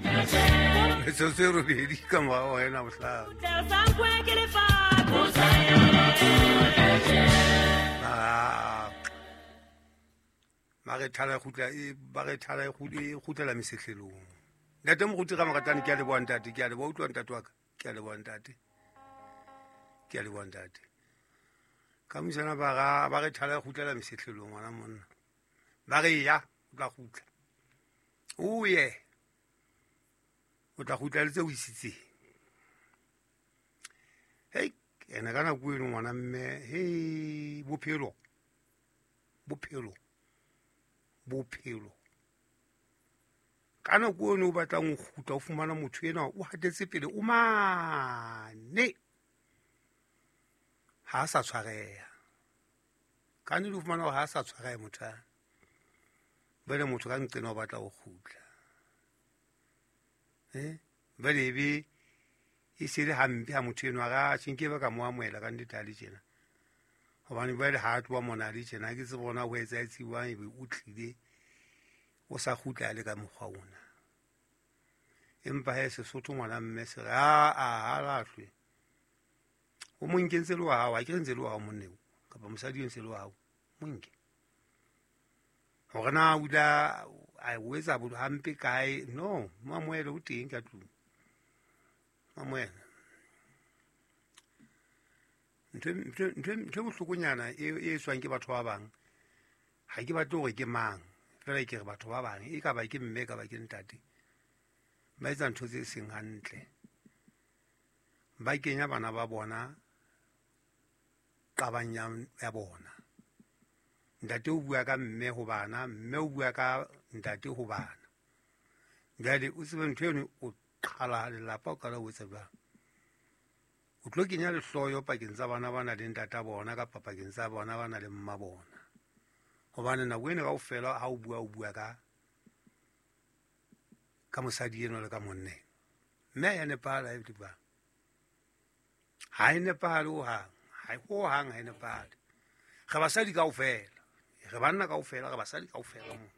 Metsotso e 8 ka morago ga ena bohlano. Ba re thala e ba re thala e kgutlela mesehlelong. Ntate Moruti Ramoratane, ke a leboha ntate, ke a leboha, utlwa ntate wa ka, ke a leboha ntate, ke a leboha ntate. Ka mosana ba re thala e kgutlela mesehlelong ngwana monna. Ba re ya, o tla kgutla. O ye. O tla kgutla le tse o isitseng. Hei, ene ka nako eno ngwana mme, hei, bophelo. Bophelo. Bophelo. Ka nako eno o batlang ho kgutla, o fumana motho enwa o hatetse pele o mane. Ha a sa tshwareha. Ka nnete o fumana hore ha a sa tshwareha motho a. Jwale motho ka nqena o batla ho kgutla. Jwale ebe e se le hampe ha motho enwa a re, atjhe, nkebe ka mo amohela ka nnete ha le tjena. Hobane jwale ha a tloha mona le tjena, ha ke tsebe hore na ho etsahetse jwang, ebe o tlile o sa kgutla a le ka mokgwa ona. Empa he Sesotho ngwana mme se re, a, ha lahlwe. O mo nke ntse le wa hao, ha ke re ntse le wa hao monna eo, kapa mosadi eo ntse le wa hao, mo nke. Hore na o ile a o etsa hampe kae, no, mo amohele o teng ka tlung. Mo amohele. Ntho e bohlokonyana e etswang ke batho ba bang, ha ke batle hore ke mang, feela ke re batho ba bang, e ka ba ke mme, e ka ba ke ntate, ba etsa ntho tse seng hantle. Ba kenya bana ba bona qabang ya bona. Ntate o bua ka mme ho bana, mme o bua ka ntate ho bana. Jwale o tsebe ntho eno, o qhala lelapa, o qala o etsa jwang? O tlo kenya lehloyo pakeng tsa bana ba nang le ntata bona kapa pakeng tsa bona ba nang le mma bona. Hobane nako ena kaofela ha o bua, o bua ka mosadi enwa le ka monna enwa. Mme ha ya nepahala ha e le jwang. Ha e nepahale hohang. Ha e hohang ha e nepahale. Re basadi kaofela. Re banna kaofela, re basadi kaofela mona.